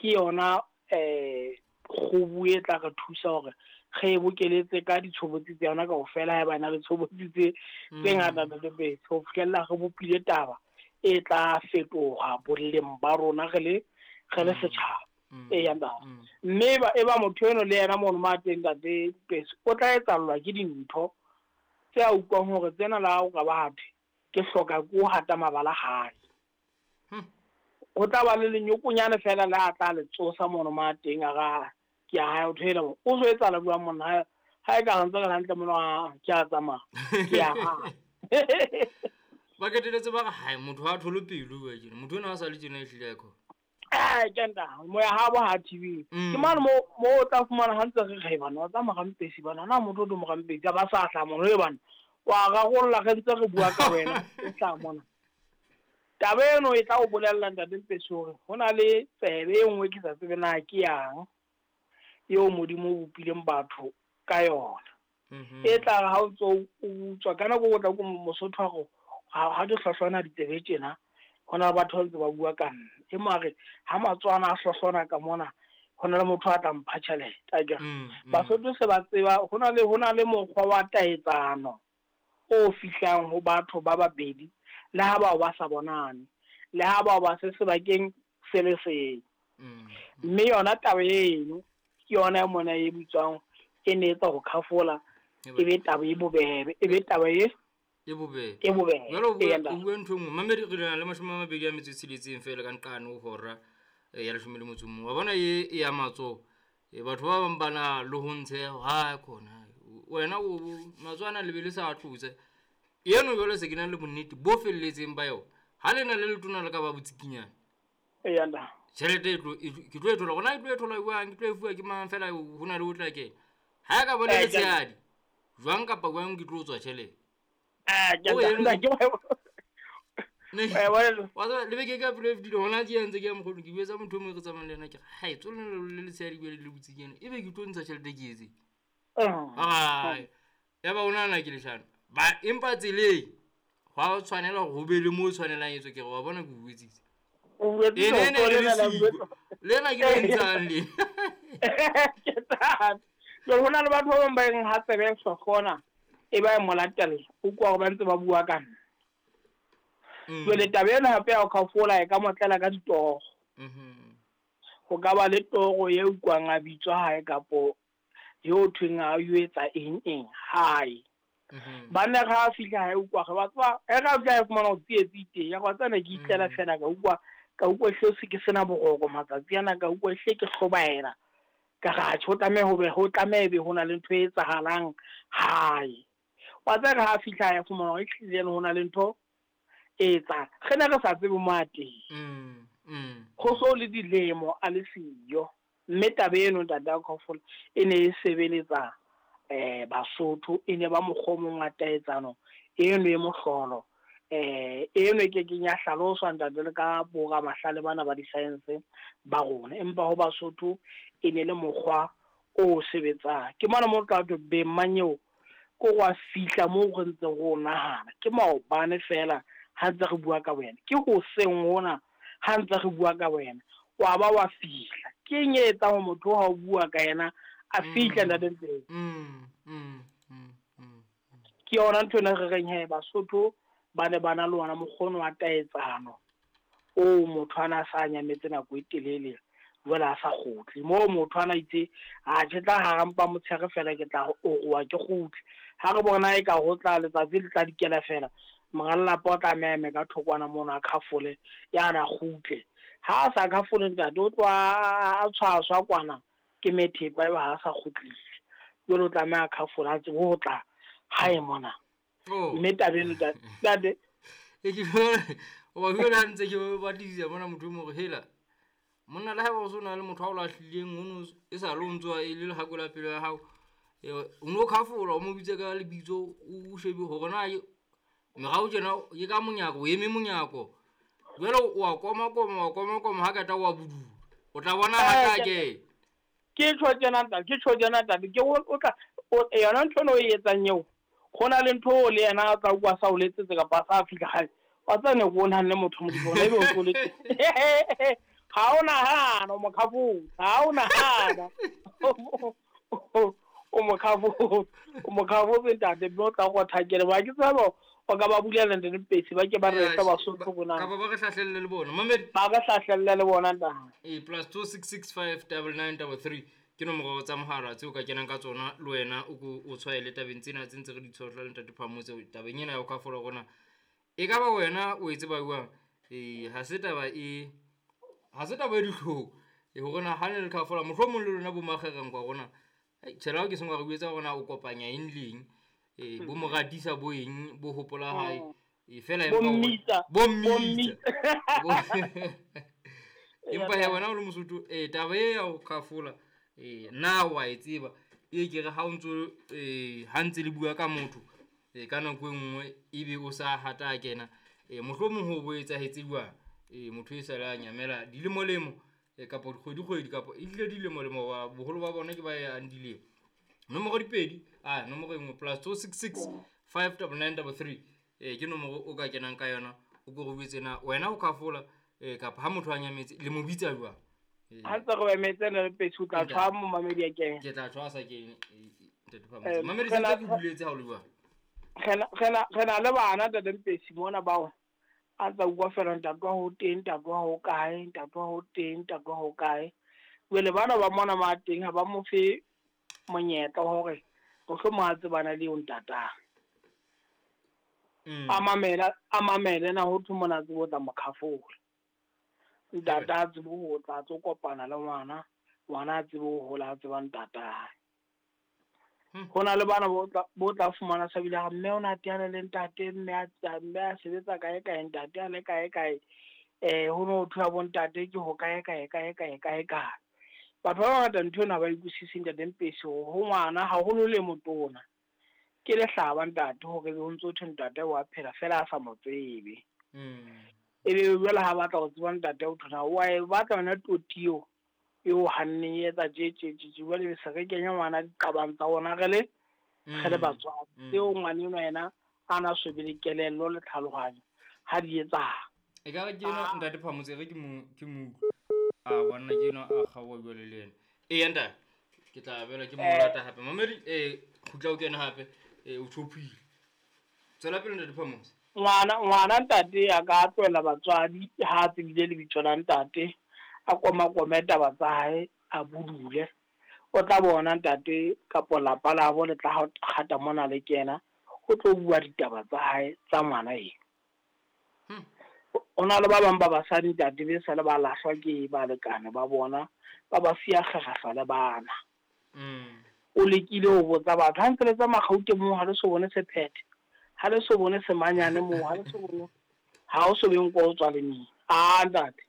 Ke yona kgubu e tla re thusa hore re e bokeletse ka ditshobotsi tsa yona kaofela, ha e ba na le tshobotsi tse ngata ntate, ho fihlella re bopile taba e tla fetoha boleng ba rona re le setjhaba. Eya ntate. Mme e ba motho eno le yena mono ma teng ntate Pesi, o tla etsallwa ke dintho tse a utlwang hore tsena la o ka ba thwe ke hloka ko hata mabala hae. Ho tla ba le lenyokonyane fela le a tla le tsosa mono ma teng a ra ke a hae o thoela o so etsahala jwang monna ha e ka re ntse re hantle mono ke a tsamaya ke a hae. Ba qetelletse ba re hae motho ha thole pelo wa tjena motho ena ha sa le tjena e hlile ko. Ke nta moya ha bo ha TV. Ke mane mo o tla fumana ha ntse re re bana tsa morampesi bana na motho o do morampesi ba sa hla mono e bana wa rarolla re ntse re bua ka wena o tla mona. Taba eno e tla o bolella ntate Mpesi hore ho na le tsebe e nngwe ke sa tsebe na ke yang eo Modimo o bopileng batho ka yona. E tla re ha o ntso o utswa ka nako o tla ko Mosotho a re ha ke hlohlona ditsebe tjena ho na le batho ba ntse ba bua ka nna. E mare ha matswana a hlohlona ka mona ho na le motho a tla mpha tjhelete akere. Basotho se ba tseba ho na le mokgwa wa taetsano o fihlang ho batho ba babedi le ha bao ba sa bonane, le ha bao ba se sebakeng se le seng. Mme yona taba eno ke yona e mona e bitswang e ne etsa ho khafola e be taba e bobebe, e be taba e bobebe. Jwale o bua ntho e nngwe mamedi re na le 26 feela ka nqane ho hora ya 11. Wa bona e ya matsoho batho ba bang ba na le ho ntshe ha khona wena o matswana le be le sa tlotse eno jwale se ke na le bonnete bo felletseng ba yona ha lena le letona le ka ba botsikinyana eya tjhelete e tlo ke tlo e thola gona ke tlo e thola jwang ke tlo e fuwa ke mang fela ho na le o tla kena ha e ka bona letshehadi jwang kapa jwang ke tlo tswa tjhelete le beke ka pelo e fetile gona ke ntse ke ya mokgolo ke buetsa motho o mongwe re tsamayng le ena ke re hai tsone le letshehadi bjale le botsikinyana e be ke tlo ntsha tjhelete ke etseng ai ya ba o nahana ke leshano ba empa tseleng hwa tshwanela hore ho be le mo tshwanelang etswe ke re wa bona ke o buetsitse lena ke le ntshang le jwale ho na le batho ba bang ba reng ha tsebe e hlohlona e ba e mo latella o kwa hore ba ntse ba bua ka nna. Jwale taba ena hape ya ho khafola e ka mo tlela ka ditoro. Ho ka ba le toro e utlwang a bitswa hae kapo yo thweng a o etsa eng eng hae. Banna ga fihla hae utlwa re ba tswa e ga fihla fumana o tsietsi teng ya go tsena ke itlela fela ka utlwa hle se ke sena boroko matsatsi ana ka utlwa hle ke hlobaela ka ga tjho tlameha ho be ho tlameha be ho na le ntho e etsahalang hae. Wa tseba ga fihla hae fumana o tlile ho na le ntho e etsa re ne re sa tsebe mo a teng. Go so le dilemo a le siyo mme taba eno ntate wa Kaofela e ne e sebeletsa Basotho e ne ba mokgwa o mong wa taetsano eno e mohlolo eno e kekeng ya hlaloswa ntate le ka boramahlale bana ba di-science ba rona, empa ho Basotho e ne le mokgwa o sebetsang. Ke mona mo tla thwe beng manyeo ko wa fihla moo re ntse re o nahana ke maobane fela ha ntse re bua ka wena ke hoseng hona ha ntse re bua ka wena wa ba wa fihla. Ke eng e etsang hore motho ha o bua ka yena a fihle ntate Mpesi? Ke yona ntho ena re reng he Basotho ba ne ba na le ona mokgono wa taetsano o motho ana a sa nyametse nako e telele jwale a sa kgutle moo motho ana itse a ke tla harampa motshehare fela ke tla oroa ke kgutle ha re bona e ka ho tla letsatsi le tla dikela fela monga lelapa o tla meme ka thokwana mono a khafole ya na kgutle ha a sa khafole ntate o tloha a tshwaswa kwana ke methepa eba ha sa kgutlile jwale o tlameha khafola a tsebe ho tla hae mona. Mme taba eno ntate o ba bua ntse ke batlisisa mona motho o mo re hela monna le ha o so na le motho a o lahlileng ono e sa le o ntso e le lehako la pelo ya hao o no khafola o mo bitse ka lebitso o shebe hore na merao tjena ke ka monyako o eme monyako jwale o a koma koma wa koma koma ha kata wa budula o tla bona ha tla ke ke tjho tjena ntate ke tjho tjena ntate ke o tla yona ntho eno e etsang eo go na le ntho le yena a tla utlwa sa o letsetse kapa sa fihla hae wa tseba ne ko nahanne motho Modimo ona ebe o tlo letsetse. Ha o nahana o mo khafola, ha o nahana o mo khafola, o mo khafola ntate mme o tla go thakele ba ke tsaba o ka ba bulela ntate Mpesi ba ke ba re fa Basotho bona kapa ba re hlahlelle le bona mamedi ba re hlahlelle le bona ntate. E +266 59933 ke nomoro tsa mohala tseo ka kenang ka tsona le wena o ko o tshwaele tabeng tsena tse ntse re di tshohla le ntate Phamotse tabeng ena ya ho khafola rona e ka ba wena o e tseba jwang. Ha se taba e dihlong e hore na ha ne le khafola mohlomong le lona bo makgereng kwa rona tjhela ke sengwe re buetsa rona o kopanya eng le eng bo moratisa bo eng bo hopola hae fela bo mmitsa empa ya wena o le Mosotho taba e ya ho khafola na wa e tseba e ke re ha o ntso ha ntse le bua ka motho ka nako e nngwe ebe o sa hata kena mohlomong ho bo etsahetse jwang motho e sale a nyamela dilemolemo kapa dikgwedi-kgwedi kapa ehlile dilemolemo ba boholo ba bona ke ba yang dilemo. Nomoro dipedi a nomoro e nngwe +266 59933 ke nomoro o ka kenang ka yona o ko re buetse na wena o khafola kapa ha motho a nyametse le mo bitsa jwang. Ha ntse re emetse le Mpesi o tla tshwa mo mamedi a kene. Ke tla tshwasa ke ntate Phamotse. Mamedi sentse ke buletse ha o le jwang. Re na le bana ntate Mpesi mona bao a tsa bua fela ntate wa ho teng, ntate wa ho kae, ntate wa ho teng, ntate wa ho kae. Jwale bana ba mona ma teng ha ba mo fe monyetla hore mohlomong a tsebana le eo ntatang. A mamele na ho thwe mona tsebo tla mo khafola. Ntata a tsebe ho tla tlo kopana le ngwana, ngwana a tsebe ho hola a tseba ntatae. Ho na le bana bo tla fumana sa bile mme o na teana le ntate mme a sebetsa kae kae ntate a le kae kae ho no thwa bo ntate ke ho kae kae kae kae kae kae. Batho ba bangata ntho ena ba utlwisise ntate Mpesi ho ngwana haholo le motona ke lehlaba ntate hore ho ntso thwe ntate wa phela fela a sa mo tsebe. Ebe jwale ha batla ho tseba ntate o thona wa e batla yona totio eo hanneng e etsa tje tje tje jwale be se re kenya ngwana diqabang tsa rona re le batswadi tseo ngwana enwa yena a na swebe le kelello le tlhalohanyo ha di etsahala. E ka re ke ena ntate Phamotse re ke mo a bona ke ena a kgaoha jwale le yena. Eya ntate ke tla bela ke mo lata hape mamedi kgutla o kena hape o thophile. Tswela pele ntate Phamotse. Ngwana ntate a ka tlohela batswadi ha a tsebile lebitso la ntate a koma-kome taba tsa hae a budule o tla bona ntate kapo lapa labo le tla kgata mona le kena o tlo bua ditaba tsa hae tsa ngwana eo. O na le ba bang ba basadi ntate be sale ba lahlwa ke balekane ba bona ba ba siya kgakgahla le bana. O lekile ho botsa batho ha ntse le tsamaya Gauteng moo ha le so bone sephethe, ha le so bone semanyane moo, ha le so bone ha o so beng ko o tswa le neng. A ntate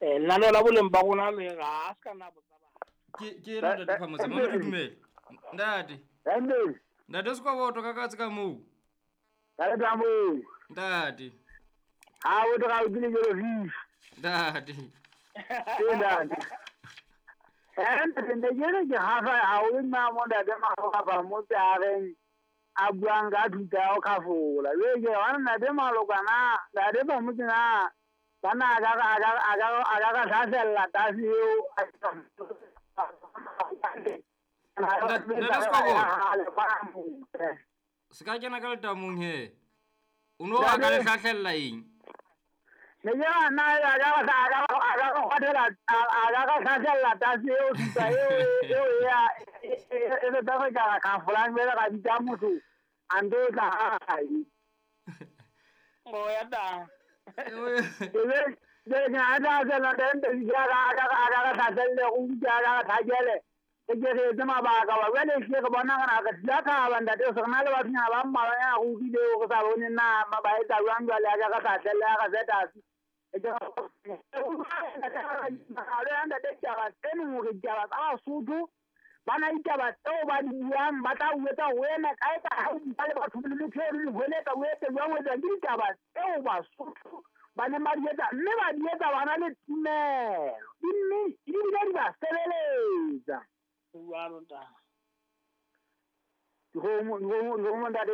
lenaneo la boleng ba rona le ga a se ka nna botsa batho. Ke ena ntate Phamotse mamedi dumela. Ntate. Ntate se kwa boto ka katse ka moo. Ntate. Ha o tla o dile jelo fifi. Ntate. Ntate. Ntate jelo ke hafa ha o nna mo ntate ma mo tsa reng a buang ka thuta ya ho khafola. Jwale ke wa ntate Maloka na ntate Phamotse na bana a ka hlasella tasi eo. Ntate Skwabo. Se ka kena ka letamong he. O no a ka le hlahlella eng? Ne ya na ya ka hlahlela tasi eo thuta eo ya e le tsa ka khafolang bele ka bitsa motho a ndo tla hae. O ya da. Bana ditaba tseo ba di buang ba tla o etsa wena kae ka ha o bua le batho le motho e le hweletsa o etse jwang o etsa ke ditaba tseo Basotho ba ne ba di etsa mme ba di etsa bana le tumelo mme di bile di ba sebeletsa. Jwalo ntate. Dikgomo ntate.